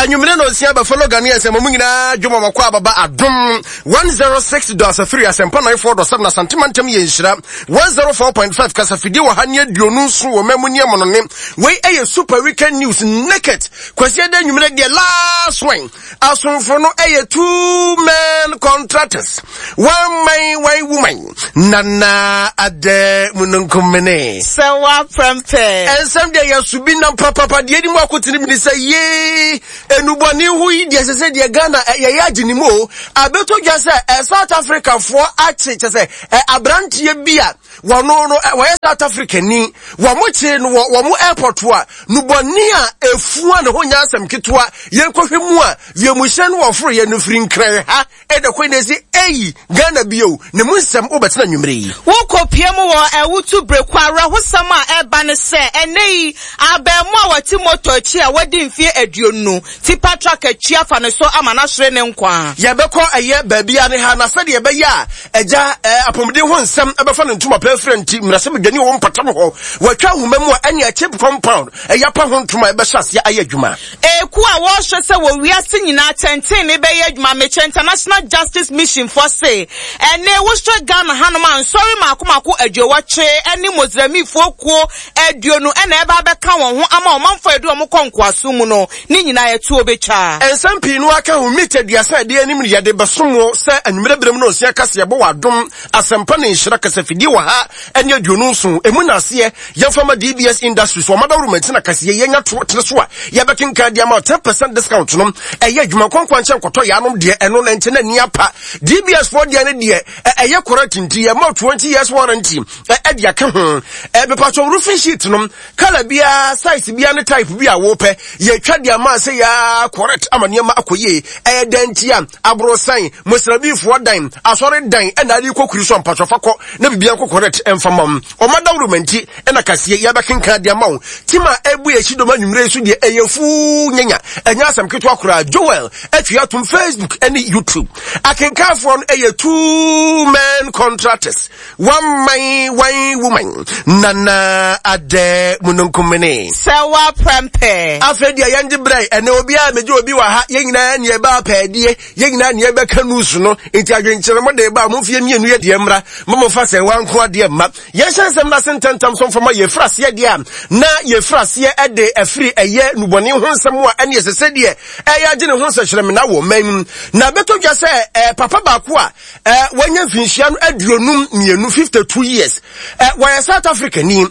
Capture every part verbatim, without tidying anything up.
Anwummere na osia bɛfɔlɔ Ghanaians ɛma mu nyinaa dwom a wɔkɔ ababa Adom one zero six dot asafiri Asɛmpa nine four dot seven Asante mantam yɛ nhyira one zero four point five kasafidie wɔ ha ne aduonu nson wɔ mamu ne amonone. Wei ɛyɛ Super Weekend News Naked Kwasi ɛda anwummere deɛ last one. Asomfo no ɛyɛ two men contractors, one man one woman. Nana Adɛ Mununkumene. Sɛ woaprɛmpɛ. Ɛnsɛm deɛ yɛ so bi nam papapa deɛ anim akotene bi ne sɛ yee enubɔne ho yi deɛ sɛ sɛ deɛ Ghana yɛyɛ agye ne mu o. Abɛtɔ dwa sɛ ɛ South Africa foɔ akye kyɛ sɛ ɛ aberanteɛ bi a wɔno no wɔyɛ South Africa ni wɔn kye no wɔ wɔn airport a nubɔne a efua ne ho nyɛ asɛm ketewa. Yɛnkɔhwɛ mu a wiemhyɛn no wɔforo yɛ no firi Nkran ha ɛda kwan na ɛsi eyi Ghana bio ne mu nsɛm wobɛtena nwummere yi. Wokɔpie mu wɔ Ɛwutu Breko awerɛhosɛm a ɛba ne sɛ ɛnɛ yi abɛɛmo a wɔte moto akyi a wɔadi mfeɛ aduonu tipa truck akyi afa ne so ama n'ahwere ne nkwa. Yɛbɛkɔ ɛyɛ baabi a ne ha na sɛdeɛ ɛbɛyɛ a agya apɔmuden ho nsɛm ɛbɛfa ne ntoma pɛ afira nti mmarahyɛbadwani wɔ mpɔtam hɔ wɔatwa ahoma mu a ɛne chip compound ɛyɛ apa ho ntoma ɛbɛhyɛ aseɛ ayɛ adwuma. Eku a wɔrehwɛ sɛ wɔ wiase nyinaa tɛntɛn ne bɛyɛ adwuma mekyɛ International Justice Mission foɔ se ɛne wohwɛ Ghana hanom a nsɔre mako mako aduowɔtwe ɛne Mozambiquefoɔ kuo aduonu ɛna ɛba abɛka wɔn ho ama ɔmanfoɔ a yɛde wɔn kɔ nkoaso mu no ne nyinaa yɛtuo bɛtwa. Nsɛm pii no aka ho mita aduasa adeɛ anim ne yɛde bɛsom wo sɛ anwummerɛ berɛ mu no nsia kaseɛbɔ wɔ Adom Asɛmpa ne Nhyira kasafidie wɔ ha ɛne aduonu nson emu na aseɛ yɛmfa ma D B S Industries wɔn adaworo mantina kaseɛ yɛnya to tene so a yɛbɛkenkan de ama ten percent discount no ɛyɛ adwuma nkwankwa nkyɛn nkɔtɔ yɛanom deɛ ɛno na nkyɛn na ni apa D B S foɔ deɛ ne deɛ ɛyɛ correct nti yɛ ma twenty years warranty ɛde aka ho ɛbɛpatwɔ roofing sheet no color biara size biara ne type bi a wɔpɛ yɛtwa de ama sɛ yɛ correct ama nneɛma akɔ yie ɛyɛ dan ti a aborosan mosrabifoɔ dan asɔre dan ɛna ade kɔ kuri so mpatwɔfa kɔ na biribiara kɔ correct ɛmfa ma wo ɔma dawuro manti ɛna kaseɛ yɛbɛkenkan de ama wo tim a ɛbu yɛ dɔm anwummerɛ so deɛ ɛyɛ fuu nyanya ɛnyɛ asɛm ketewa koraa. Joel atwi atom Facebook ɛne YouTube akenkanfoɔ no ɛyɛ two men contractors, one man one woman. Nana Adɛ Mununkumene. Sɛ woaprɛmpɛ. Afei deɛ yɛngye brɛ ɛnɛ obiara megye obi wɔ ha yɛn nyinaa ne ɛba apɛɛdeɛ yɛn nyinaa ne ɛbɛka news no nti adwenkyerɛ mo de ba mo mfie mmienu yɛ deɛ mmra ma mo fa sɛ wanko adeɛ mma yɛnhyɛ nsɛm no ase ntɛntɛm so mfama yɛfiri aseɛ deɛ a na yɛfiri aseɛ ɛde afiri ɛyɛ nubɔne ho nsɛm a ɛne ɛsɛ sɛ deɛ ɛyɛ agye ne ho nsɛkyerɛmena wɔ man mu na bɛtɔ dwa sɛ ɛɛ papa baako a ɛɛ wɔanya mfinhyia no aduonum mmienu fifty two years ɛɛ wɔyɛ South Africa ni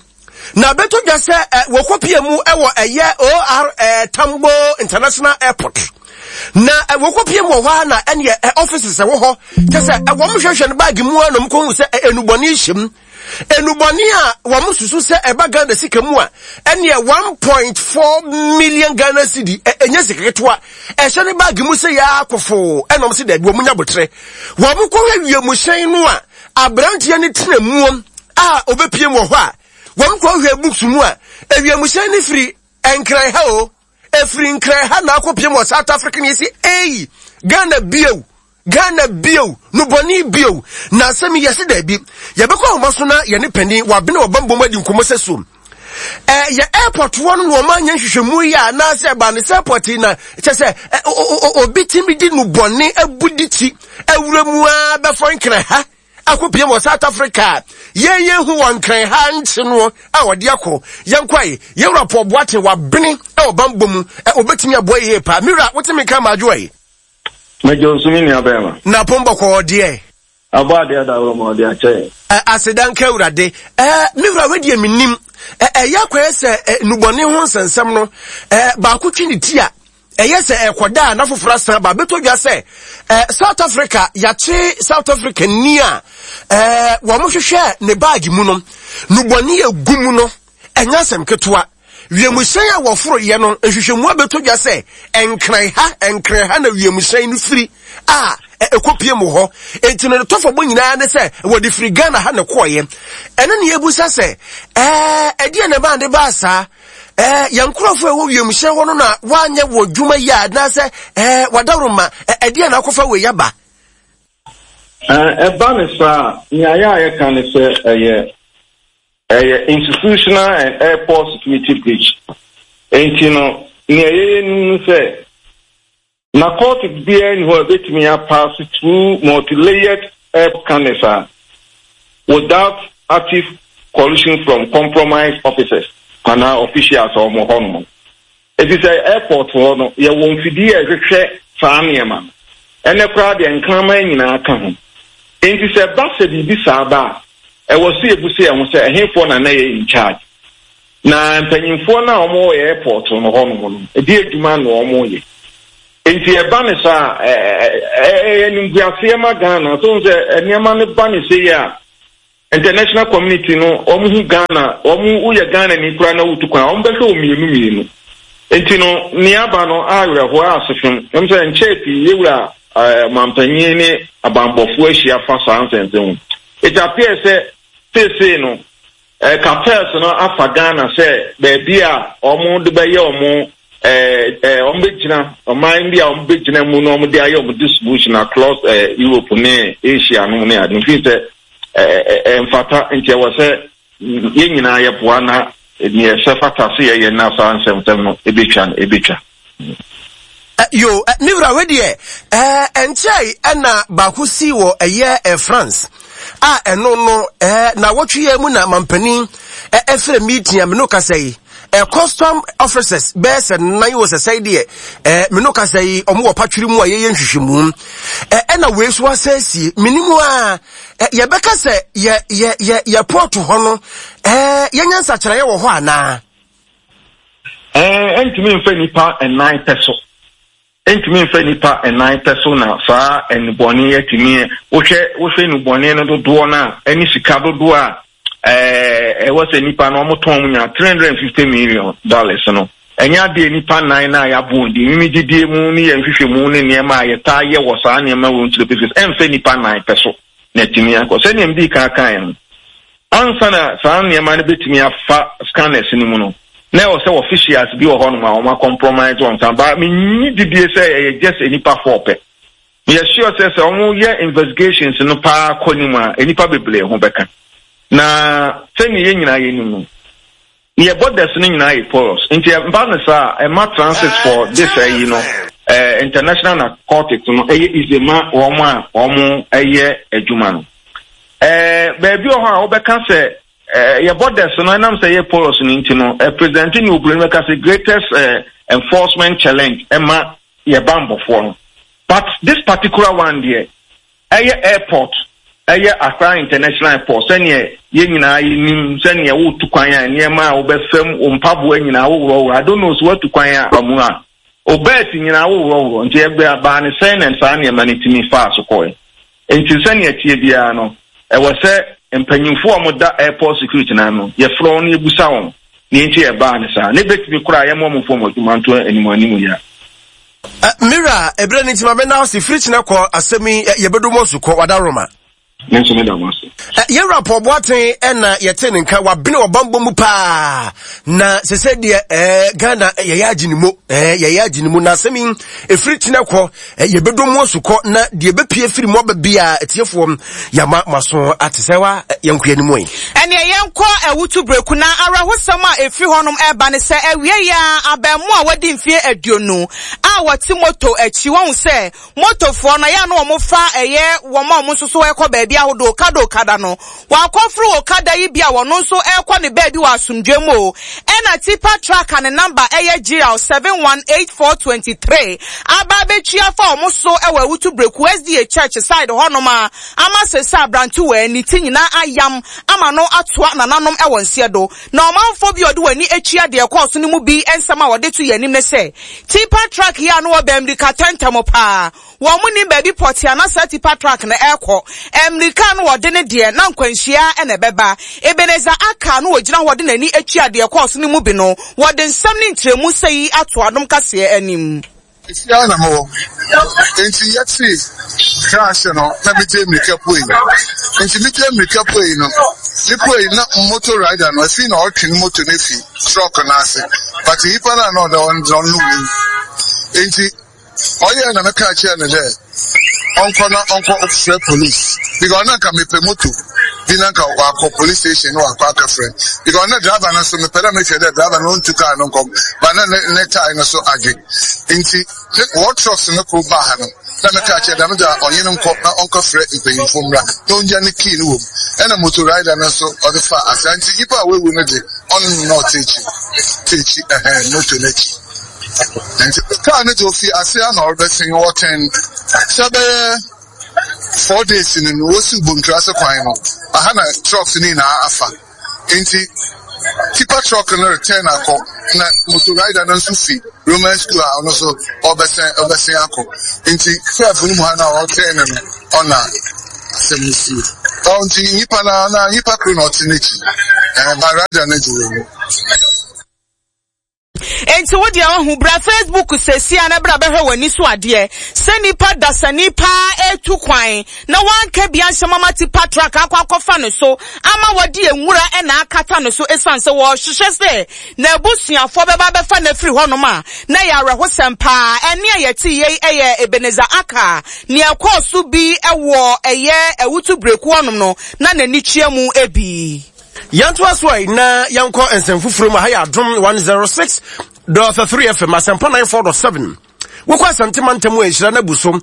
na bɛtɔ dwa sɛ ɛ wɔkɔpie mu ɛwɔ ɛyɛ O R Tambo International Airport na wɔkɔpie mu wɔ hɔ a na ɛneɛ ɛ offices ɛwɔ hɔ kyɛ sɛ wɔn hwehwɛ no baagi mu a na wɔn kɔn sɛ enubɔne hyɛ mu enubɔne a wɔn susu sɛ ɛba Ghana sika mu a ɛneɛ one point four million Ghana cedi ɛnyɛ sika ketewa ɛhyɛ ne baagi mu sɛ yɛ akɔfo ɛna wɔn sɛ dɛbi wɔn nya botere wɔn kɔhwɛ wiemhyɛn no a aberanteɛ ne tena mu a obɛpie mu wɔ hɔ a wɔn kɔhwɛ books mu a ewiemhyɛn ne firi Nkran ha o efiri Nkran ha na akɔpie mu wɔ South Africa ne yɛsi eyi Ghana bio Ghana bio nubɔne bio na asɛm yɛsi dɛbi yɛbɛkɔ ahoma so na yɛne panin wabene wɔbɛn bom adi nkɔmɔ sɛ so ɛɛ yɛ airport hɔ no na wɔn anya nhwehwɛmu yi a anaasɛ ɛba ne sɛ airport yi na kyɛ sɛ obi timi di nubɔne abu di ti awura mu a bɛfɔ Nkran ha akɔpie wɔ South Africa yɛn yɛn hu wɔ Nkran ha nkye no a wɔde akɔ yɛn kwae yɛwura Paul Boateng wabene ɛwɔ bambɔ mu ɛ obetumi aboa yie paa mira wotumi ka maajo yi. Mɛjọ nsumi ni abɛɛma. Na pɔn bɔkɔɔ deɛ. Abɔ adeɛ da wɔ ma ɔde akyɛ. Ɛ asedanka awurade ɛ mira wɛdeɛ mi nim ɛ ɛyɛ akɔyɛ sɛ ɛ nubɔne ho nsɛnsɛm no ɛ baako twi ne ti a ɛyɛ sɛ ɛkɔda a na foforɔ asan ba bɛtɔ dwa sɛ ɛ South Africa yɛakye South Africa ni a ɛ wɔn hwehwɛ ne baagi mu no nubɔne egu mu no ɛnyɛ asɛm ketewa wiemhyɛn a wɔforo yɛ no nhwehwɛmu abɛtɔ dwa sɛ Nkran ha Nkran ha na wiemhyɛn no firi a ɛkɔpie mu hɔ enti no ne tɔfɔbɔ nyinaa ne sɛ wɔde firi Ghana ha ne kɔɔyɛ ɛno ne yɛbusa sɛ ɛɛ ɛdeɛ na ɛbaa ne baa saa ɛɛ yɛn nkurɔfoɔ a ɛwɔ wiemhyɛn hɔ no na wɔanyɛ wɔ dwuma yi a anaasɛ ɛɛ wadaworo ma ɛdeɛ na akɔfa wei aba. Ɛba ne saa nea yɛ a yɛka ne sɛ ɛyɛ ɛyɛ institutional and airport security breach. Enti no nea yɛyɛ nim no sɛ Narcotic biara ni hɔ a ebetumi apass through multi-layered air scanners a without active collusion from compromised officers anaa officials a wɔn hɔ nom. Eti sɛ airport hɔ no, yɛwɔ mfidie a ɛhwehwɛ saa nneɛma no. Ɛnɛ koraa deɛ, nkraman nyinaa ka ho. Nti sɛ ba sɛ biribi saa ba a, ɛwɔ sɛ yɛbu sɛ yɛn ho sɛ ɛhefoɔ na na yɛ in charge. Na mpanyinfoɔ no a wɔwɔ airport no hɔ nom no, ɛdi adwuma na wɔn yɛ. Nti ɛba ne saa, ɛyɛ nimguaseɛ ma Ghana. So sɛ nneɛma no ba ne se yi a, international community no, wɔn hu Ghana, wɔn woyɛ Ghana ni koraa na wotu kwan, wɔn bɛhwɛ wɔn mmienu mmienu. Nti no, nea aba no awerɛhoɔ asefem. Ɛm sɛ nkyɛn pii yɛwura ɛɛ mampanyin ne abanbɔfoɔ ahyia fa saa nsɛnsɛm ho. It appears sɛ seesei no, ɛɛ cartels no afa Ghana sɛ beebi a wɔn de bɛyɛ wɔn ɛɛ ɛɛ wɔn bɛgyina ɔman bi a wɔn bɛgyina mu na wɔn de ayɛ wɔn distribution across ɛɛ Europe ne Asia no ne ade. Nfi sɛ ɛɛ ɛɛ mfata, nti ɛwɔ sɛ yɛn nyinaa yɛboa na nea ɛsɛ fata so yɛyɛ na saa nsɛmsɛm no ebetwa no ebetwa. Yo, me wura, we deɛ ɛnkyɛe ɛna baako si wɔ ɛyɛ France a ɛno no na wɔtwe yɛ mu na mampanin ɛfrɛ meeting a me no kasa yi, custom officers bɛyɛ sɛ nan wɔ sɛsɛe deɛ ɛɛ me no kasa yi, ɔmo wɔ patwiri mu a yɛyɛ nhwehwɛmu. Ɛna wei so asɛsie minimu a yɛbɛka sɛ yɛ yɛ yɛ yɛ port hɔ no, ɛɛ yɛnyɛ nsakyerɛeɛ wɔ hɔ anaa? ɛɛ ɛntumi nfa nipa ɛnan pɛ so, ntumi nfa nipa ɛnan pɛ so na saa ɛnubɔne yɛtumi. Wohwɛ wohwɛ nubɔne no dodoɔ no a, ɛne sika dodoɔ a ɛɛ ɛwɔ sɛ nipa no wɔn tɔn mu nya three hundred and fifty million dollars no, ɛnyɛ adeɛ nipa nan na yɛabɔ wɔn din. Mimi didie mu ne yɛn nhwehwɛ mu ne nneɛma a yɛtaa yɛ wɔ saa nneɛma wɔ nkyerɛ pefes, ɛnfɛ nipa nan pɛ so na ɛtumi akɔ. Sɛnea mbii kan kan no, ansa na saa nneɛma no bɛtumi afa scanners no mu no, na ɛwɔ sɛ officials bi wɔ hɔnom a wɔn acompromise wɔn nsa ba. Menyi didie sɛ ɛyɛ just nipa four pɛ. Yɛ sure sɛ sɛ wɔn yɛ investigations no paa kɔ ne mu a, nipa bebree ho bɛka. Na sɛnea yɛn nyinaa yɛ nim no, yɛ borders no nyinaa yɛ porous, nti ɛba no saa, ɛma transit for this ɛyi no, ɛɛ international narcotics no ɛyɛ easy ma wɔn a wɔn ɛyɛ adwuma no. ɛɛ beebi wɔ hɔ a wɔbɛka sɛ ɛɛ yɛ borders no, ɛnam sɛ yɛ porous no nti no, ɛpresent ne obìnrin bɛka sɛ greatest ɛɛ enforcement challenge ɛma yɛ bambɔfoɔ no. But this particular one deɛ, ɛyɛ airport, ɛyɛ Accra International Airport. Sɛnea yɛn nyinaa yɛnim sɛnea wotu kwan a, nneɛma a wobɛfam, wo mpaboa nyinaa woworɔworɔ. I don't know so woatu kwan a mu a, o belt nyinaa woworɔworɔ. Nti ɛbɛ baa ne sɛn na saa nneɛma no tumi faa so kɔɛ? Nti sɛnea tie biara no, ɛwɔ sɛ mpanyinfoɔ a wɔda airport security no ano, yɛfrɛ wɔn na yɛbusa wɔn ne nti ɛbaa ne saa, ne bɛtumi koraa yɛmmɔ wɔn fam adwuma nto anim anim yɛ. Mira, ɛberɛ no nti ma bɛna ase firi kyena kɔ asɛm yi yɛbɛdɔ mu asu kɔ wadaroma. Ne nso meda mo ase. Yɛwura Paul Boateng ɛna yɛte ne nka wabene ɔbambɔ mu paa na sɛ sɛ deɛ ɛɛ Ghana yɛyɛ agye ne mu, ɛɛ yɛyɛ agye ne mu. Na asɛm yi ɛfiri kyena kɔ yɛbɛdɔ mu asu kɔ na deɛ ɛbɛpie firi mu aba bia, atiefoɔ yɛama maso ate sɛ wa yɛnko yɛn mu yi. Ɛneɛ yɛnkɔ Awutu Breku na awerɛhosɛm a ɛfiri hɔnom ɛreba ne sɛ awie yi a, abɛɛmo a wadi mfeɛ aduonu a wɔte moto akyi, wɔn sɛ motofoɔ no ɛyɛ a na wɔn fa ɛyɛ wɔn a wɔn nso so ɛkɔ baabi ahodoɔ, okada okada no, wakɔforo okada yi bi a wɔn nso ɛrekɔ ne baabi wɔ asomdwe mu o, ɛna tipper truck a ne number ɛyɛ G R seven one eight four twenty three aba abɛtwi afa wɔn so ɛwɔ Awutu Breku S D A Church side hɔnom a ama sese aberantewa ne ti nyinaa ayam ama no atoa nananom ɛwɔ nseɛ do. Na ɔmanfoɔ bi a ɔde wɔn ani atua deɛ ɛkɔɔ so no mu bi nsɛm a wɔde to yɛn anim ne sɛ tipper truck yi a no wɔ bɛn tɛntɛm paa, wɔn mu nim baabi pɔte a na saa tipper truck no ɛrekɔ. Mmirika no wɔde ne deɛ na nkwanhyia ɛna ɛbɛba. Ebenezer Aka no wɔgyina hɔ de n'ani atua deɛ ɛkɔɔ so no mu bi no, wɔde nsɛm ne nkyerɛmu sɛ yi ato Adom Kaseɛ anim. Efia na mewɔ, nti yɛte crash no na megye mmirika puei. Nti megye mmirika puei no, mepuei na motor rider no afi na ɔretwe ne moto no afi truck no ase, but nipa no a na ɔda hɔ no ɔno wui. Nti ɔyɛ na meka kyerɛ no dɛ ɔnkɔ na ɔnkɔ frɛ police because ɔno anka mepɛ moto. Bi na nka wakɔ police station na wakɔ akɛfrɛ because na driver no so mepɛ dɛ mehwɛ dɛ driver no ɔntu car no nkɔm ba na ne ne tae no so adwe. Nti wɔ trucks no koro baa ha no na meka kyerɛ dɛm dza ɔnye no nkɔ na ɔnkɔfrɛ mpanyimfo mmra na ongya ne key no wɔ mu. Ɛna motor rider no nso ɔde fa asa. Nti nyimpa a wawu no de, ɔno na ɔte akyi te akyi ɛhɛn motor n'akyi. Nti kaa no de ofi ase a na ɔrebɛsen wɔtɛn sɛ bɛyɛ four days no no wosi Bontura ase kwan no aha na trucks no nyinaa afa. Nti tipper truck no return akɔ na motor rider no nso fi Roman school a ɔno nso ɔbɛsɛn ɔbɛsɛn akɔ. Nti curve no mu ha na ɔtɛn no no ɔna asɛm no si. Ɔ nti nyimpa na na nyimpa koro na ɔte n'akyi, ɛɛ ba rider no de wɔ mu. Enti wo deɛ wahu, bra Facebook sesia na bra bɛhwɛ w'ani so adeɛ sɛ nipa dasani paa etu kwan na wanka bi anhyɛ mama tipper truck akɔ akɔfa ne so ama wɔde nwura ɛna akata ne so, esan sɛ wɔhwehwɛ sɛ n'abusuafoɔ bɛba bɛfa n'afiri hɔnom a na yɛ awerɛhosɛm paa. Ɛne a yɛte yei ɛyɛ Ebenezer Aka nea ɛkɔɔ so bi ɛwɔ ɛyɛ Awutu Breku hɔnom no na n'ani tua mu ebi. Yɛntoa so a na yɛnkɔ nsɛm foforɔ mu. Ha yɛ Adom one oh six point three F M, Asɛmpa ninety-four point seven. Wokɔ Asante mantam a, nhyira no abu so one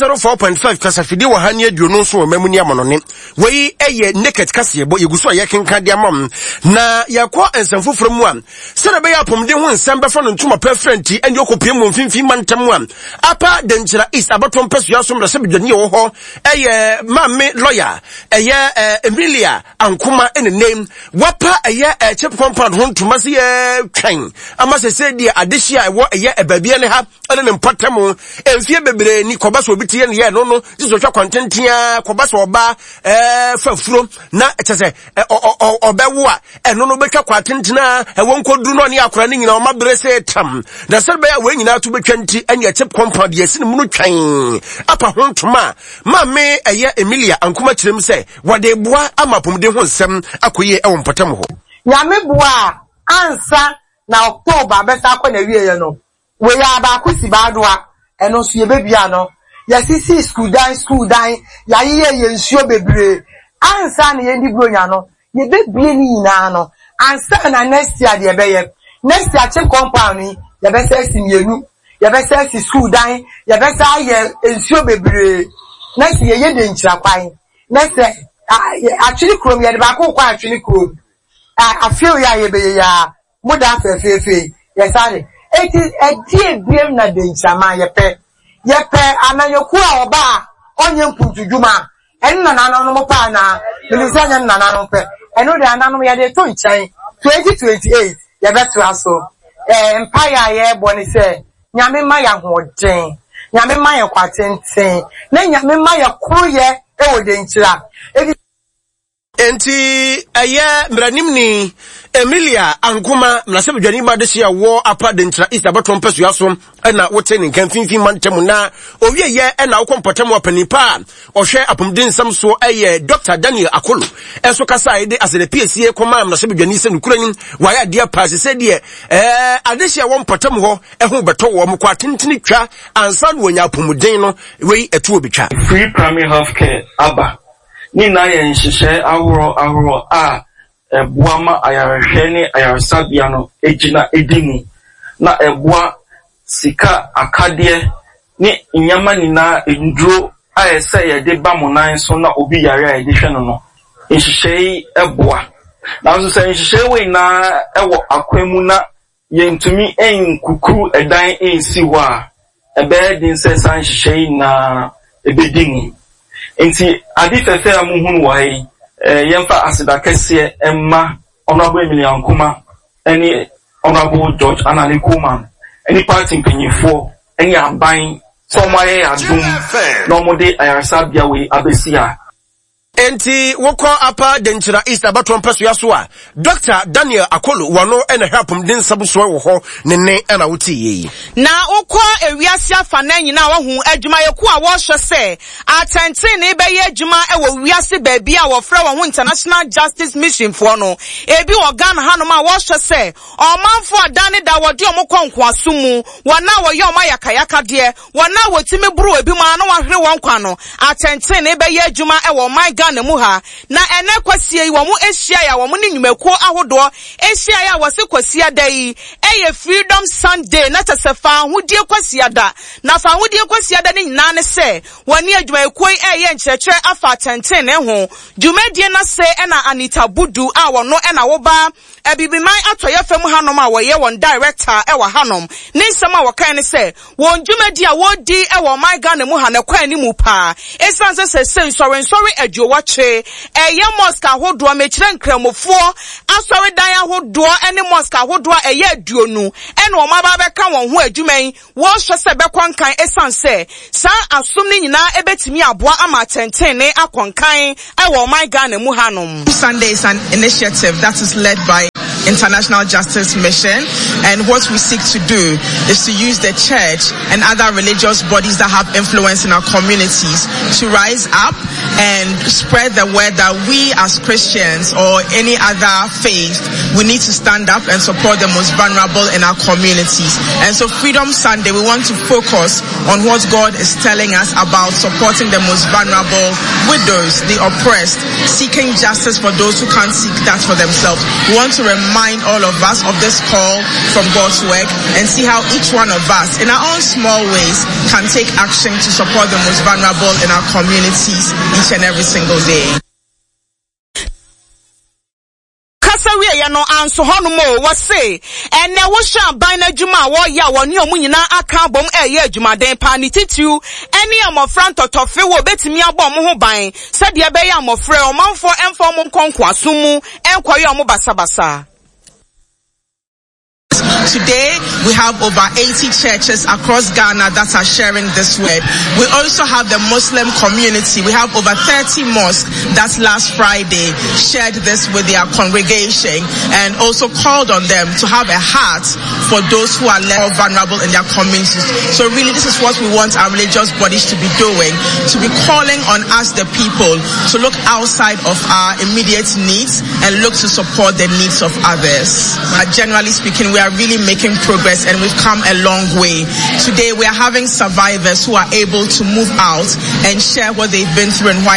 oh four point five, kasafidie wɔ ha ne aduonu nso wɔ mamu ne amanɔne. Wei ɛyɛ Naked kaseɛbɔ yɛgu so a yɛkenka de ama m. Na yɛkɔ nsɛm foforɔ mu a, sɛdeɛ ɛbɛyɛ apɔmuden ho nsɛm bɛfa no ntoma pɛ frɛ nti ɛne ɔkɔpie mu mfimfini mantam a, Upper Denkyira East abatoɔ mpɛsua so mmarahyɛbadwani a ɛwɔ hɔ ɛyɛ maame lawyer ɛyɛ Emilia Ankoma, ɛne name wapa ɛyɛ ɛkyɛ compound ho ntoma sɛ yɛtwɛn ama sɛ sɛ deɛ adehye a ɛwɔ ɛyɛ ɛbaabia ne ha ɛne ne mpɔtam mfie bebree ni kɔba sɛ obi tie ne yɛ no no gye sɛ ɔtwa kwantentea kɔba sɛ ɔba ɛɛ fa furo na kyɛ sɛ ɔbɛwo a ɛno no bɛtwa kwantentena ɛwɔ nkɔduru no ɔne akora no nyinaa ɔma bere sɛ tam na sɛ bɛyɛ a wɔn nyinaa to bɛtwa nti ɛne ɛkyɛ compound yɛsi ne mu no twɛn apa ho ntoma a maame ɛyɛ Emilia Ankoma kyerɛ mu sɛ wɔde boa ama apɔmuden ho nsɛm akɔyie ɛwɔ mpɔtam hɔ. Nyame boa a, ansa na October bɛsa akɔ na wieɛ no, wei a baako si baadoa, ɛno nso yɛbɛbia no. Yɛsisi school dan, school dan yɛayeyɛ yɛ nsuo bebree ansa na yɛndi buronya no, yɛbɛbie ne nyinaa no ansa na next year deɛ yɛbɛyɛ. Next year CHPS compound yi yɛbɛsɛ asi mmienu, yɛbɛsɛ asi school dan, yɛbɛsɛ ayɛ nsuo bebree. Next year yɛyɛ de nkyira kwan. Next year Atwene kurom yɛde baako kɔ Atwene kurom afew yɛ a yɛbɛyɛ yɛ a mo da fɛfɛɛfɛ yɛsa de eti ɛdi ebiem na de nkyiraman yɛpɛ yɛpɛ amanyɔkuo a ɔba a ɔnyɛ mpuntudwuma. Ɛno na nananom pɛ anaa menim sɛ ɛnyɛ nananom pɛ. Ɛno de ananom yɛde to nkyɛn. Twenty twenty eight yɛbɛtoa so. Ɛɛ mpaeɛ a yɛrebɔ ne sɛ Nyame ma yɛ ahoɔden, Nyame ma yɛ kwa tenten, na Nyame ma yɛ koroyɛ ɛwɔ Denkyira ebi. Enti ɛyɛ mmaranimni Emilia Ankoma, mmarahyɛbadwani ba de hyia wɔ Upper Denkyira East abatoɔ mpɛsua so, ɛna wote ne nka mfimfini mantam. Na owieyɛ ɛna wokɔ mpɔtam a, panin pa a ɔhwɛ apɔmuden nsɛm so ɛyɛ Doctor Daniel Akolo ɛnso kasa a yɛde asɛdɛ piesie kɔma mmarahyɛbadwani sɛ nokura nim wayɛ adeɛ paa sɛ sɛ deɛ ɛɛ adehyɛ wɔ mpɔtam hɔ ɛho bɛtɔ wɔ kɔ atentene twa ansa na wɔnya apɔmuden no wei ɛto obi twa. Free primary health care aba ne nyinaa yɛ nhyehyɛe ahorow ahorow a ɛboa ma ayarehwɛ ne ayaresabea no gyina edi mu, na ɛboa sika akadeɛ ne nneɛma nyinaa, nduro a ɛsɛ yɛde ba mo nan so na obi yare a yɛde hwɛ no no nhyehyɛe yi boa. Nanso sɛ nhyehyɛe wɔ nyinaa wɔ akwan mu na yɛntumi nkukuru ɛdan nsi hɔ a, ɛbɛyɛ den sɛ saa nhyehyɛe yi nyinaa ɛbɛdi mu. Nti ade fɛfɛ a muhunu wɔ ha yi, ɛɛ yɛmfa aseda kɛseɛ mma Honourable Emilia Nkoma ɛne Honourable George Anane Coleman ɛne party mpanyinfoɔ ɛne aban sɛ wɔn ayɛ yɛ adom na wɔde ayaresabea wei abɛsi ha. Enti wokɔ Upper Denkyira East abatoɔ mpɛsoa so a, Doctor Daniel Akolo wɔno ɛna hwɛ apɔmuden nsɛm soɔ wɔ hɔ ne ne ɛna wote yie yi. Na wokɔ ewiase afa na nyinaa, wahu adwumayɛkuo a wɔrehwɛ sɛ atɛntene bɛyɛ adwuma wɔ wiase baabi a wɔfrɛ wɔn ho International Justice Mission foɔ no, ebi wɔ Ghana hanom a wɔrehwɛ sɛ ɔmanfoɔ a da ne da wɔde wɔn kɔ nkoaso mu, wɔn a wɔyɛ wɔn ayakayakadeɛ, wɔn a wɔtumi boro ebi mu a na wɔahwere wɔn kwan no, atɛntene bɛyɛ adwuma wɔ ɔman Ghana. Ghana mu ha. Na ɛnɛ kwasie yi wɔn ahyiaeɛ a wɔn ne nnwumakuo ahodoɔ ahyiaeɛ a wɔse Kwasiada yi ɛyɛ Freedom Sunday, na kyɛ sɛ fahodie Kwasiada. Na fahodie Kwasiada no nyinaa ne sɛ wɔne adwumayɛkuo yi ɛreyɛ nkyerɛkyerɛ afa atɛntenenee ho. Dwumadie no ase ɛna Anita Budu a wɔno ɛna woba Abibiman atɔeɛ fam hanom a wɔyɛ wɔn director ɛwɔ hanom, ne nsɛm a wɔkae ne sɛ wɔn dwumadi a wɔredi ɛwɔ ɔman Ghana mu ha no kwan anim paa, ɛsiane sɛ sɛsɛ nsɔrensɔre aduowɔtwe ɛyɛ mosque ahodoɔ, mekyerɛ nkramofoɔ asɔredan ahodoɔ ne mosque ahodoɔ a ɛyɛ aduonu ɛna wɔn aba abɛka wɔn ho adwuma yi, wɔrehwɛ sɛ bɛkɔ nkan, ɛsiane sɛ saa asom no nyinaa ɛbɛtumi aboa ama atɛntenenee akɔ nkan ɛwɔ ɔman Ghana mu hanom. Sunday is an initiative that is led by International Justice Mission, and what we seek to do is to use the church and other religious bodies that have influence in our communities to rise up and spread the word that we as Christians or any other faith, we need to stand up and support the most vulnerable in our communities. And so Freedom Sunday, we want to focus on what God is telling us about supporting the most vulnerable, widows, the oppressed, seeking justice for those who can't seek that for themselves. We want to remind all of us of this call from God's work and see how each one of us, in our own small ways, can take action to support the most vulnerable in our communities each and every single day. Kasa wieɛ no anso hɔnom o, wɔse ɛnɛ wohyɛ aban no adwuma a wɔyɛ a wɔne ɔmo nyinaa aka abom ɛyɛ adwumaden paa, ne titiriw ɛne mmɔfra ntɔtɔfe wɔ obetumi abɔ ɔmo ho ban sɛdeɛ ɛbɛyɛ a mmɔfra ɔmanfoɔ ɛmfa ɔmo nkɔ nkoasom mu ɛnkɔyɛ ɔmo basabasa. Today, we have over eighty churches across Ghana that are sharing this word. We also have the Muslim community. We have over thirty mosques that last Friday shared this with their congregation and also called on them to have a heart for those who are less vulnerable in their communities. So really, this is what we want our religious bodies to be doing, to be calling on us, the people, to look outside of our immediate needs and look to support the needs of others. But generally speaking, we are really making progress and we've come a long way. Today we are having survivors who are able to move out and share what they've been through and why